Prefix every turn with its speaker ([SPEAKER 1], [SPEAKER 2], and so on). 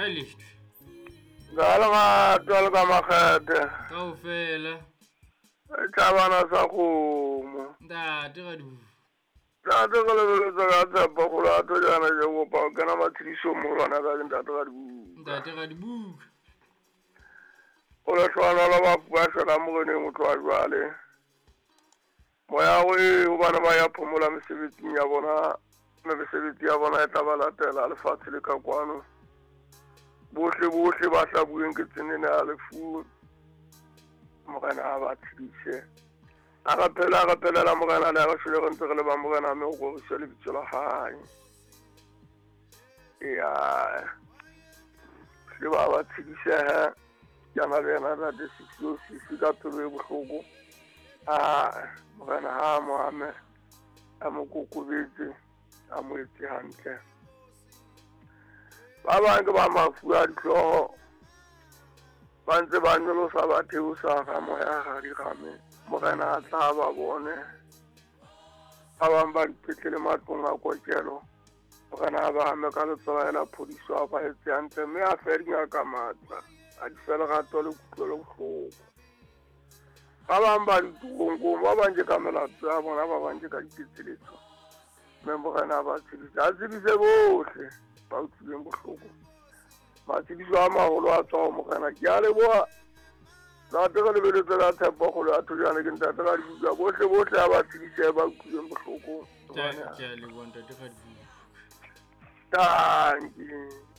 [SPEAKER 1] Ha e lehtwe.
[SPEAKER 2] Ka lerato le ka makgethe.
[SPEAKER 1] Kaofela.
[SPEAKER 2] Tlabana sa kgomo.
[SPEAKER 1] Ntate Radibuka.
[SPEAKER 2] Ntate re lebeletse ka tshepo kgolo ya thojana ke kopa ho kena matshedisong moholwane ka ke ntate Radibuka.
[SPEAKER 1] Ntate Radibuka.
[SPEAKER 2] O lehlohonolo bafu ba shwelang moreneng ho tloha jwale. Moya o ee hobane ba ya phomola mesebetsing ya bona, mme mesebetsi ya bona e tla ba latela lefatshe le ka kwano. Bohle bohle ba hlabuweng ke tsenene ya lefu, Morena a ba tshedise. A re phela re phelela Morena le a re shwele re ntse re le ba Morena mme o roriswe lebitso la hae. Eya. Hle ba ba tshedisehe. Ke na le yena ntate Sisi Sisi ka pelo e bohloko. A Morena ha a mo ame, a mo kokobetse, a mo etse hantle. Ba bang ke ba mafu a dihlooho, ba ntse ba nyolosa ba theosa ga moya ga dirame. Morena a tla ba bone. Ba bang ba dipetlele matlong a kokelo. Morena a ba ame ka letsoho la phodiso, a ba etse hantle, mme a fe dingaka matla, a di fe lerato le kutlwelo bohloko. Ba bang ba ditoronkong, ba bang ke ka melato ya bona, ba bang ke ka diketseletso. Mme Morena a ba tshedise, a tshedise bohle ba utlwileng bohloko. Matshediso a maholo a tswa ho Morena. Ke a leboha. Ntate re lebeletse ka tshepo kgolo ya thojane ke ntate ka dibuka bohle bohle a ba tshedise ba utlwileng bohloko.
[SPEAKER 1] Ke a leboha ntate Radibuka.
[SPEAKER 2] Dankie.